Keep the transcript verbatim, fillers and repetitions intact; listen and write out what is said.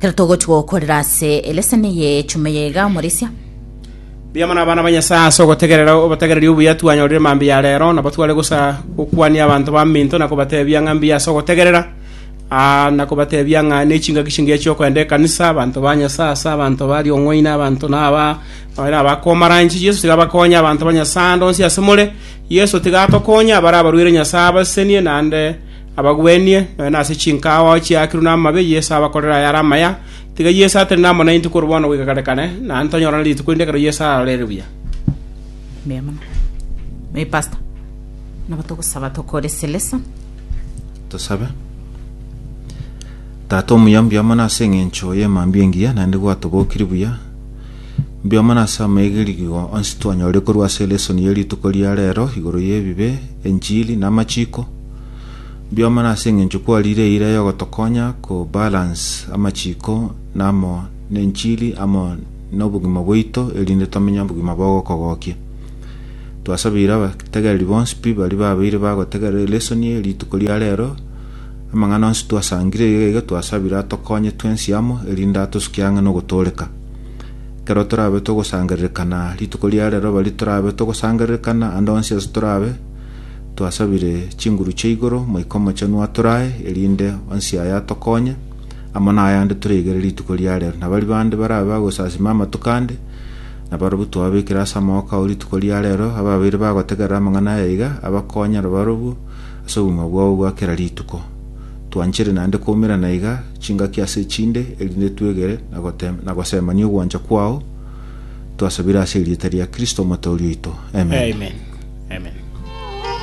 Kero togochi gokorera ase elesson ye chume yega omorisia. Mbuya mono abana ba Nyasae ase ogotegerera obotegereri obuya twanyorire mambia ya rero, nabo tware gosa gokwania abanto baminto na kobatebia ng'a mbuya ase ogotegerera, aa, na kobatebia ng'a ne chingaki chingiya chiokoenda ekanisa, abanto ba Nyasae ase abanto ba riong'oina, abanto na aba nonye na abakomaranchi. Yeso tiga abakonye abanto ba Nyasae ande onsi ase more, Yeso tiga atokonye abare abarwaire Nyasae abasesenie naende abagwenie, nonye na ase chinkawa chiakirwe namabe, Yeso abakorere ayare amaya. Tiga Yeso atenene amo naintwe korwa bono goika kare kare, naende tonyorane rituko rinde ekero Yeso ararore buya. Mbuya mono. Ee, Pastor. Nabo togosaba tokore selesa. Tosabe. Tata omuya, mbuya mono ase eng'encho y'emambia engiya naende gwatobokirie buya. Mbuya mono ase amaigerigwa onsi twanyorire korwa ase elesson ye rituko ria rero igoro y'ebibe, enchili na amachiko. Mbuya mono ase eng'encho kwarire eira yogotokonya ko balance amachiko na amo na enchili amo na obogima bwaito erinde tomenye obogima bogokogokia. Twasabeire abategereri bonsi pi baria babeire bagotegerera elesson eye rituko ria rero, amang'ana onsi twasangire iga iga twasabire atokonye twensi amo erinde atosukie ang'e na ogotooreka. Ekero torabe togosangererekana rituko ria rero baria torabe togosangererekana ande onsi ase torabe, twasabire chinguru chia igoro Omoika Omochenu atorae erinde onsi aya atokonye amo na ayande toraigere rituko ria rero. Na baria bande barabe bagosasima amatuko ande, nabarobwo twababekire ase amaboko ao rituko ria rero, ababeire bagotegerera amang'ana aya iga, abakonyera barobwo ase obogima bwabo bwa kera rituko. Twanchere naende koumerana iga chingaki ase echinde, erinde twegere na gotem- na gosemania ogwancha kwao, twasabire ase erieta ria Kristo omotoori oito. Amen. Amen.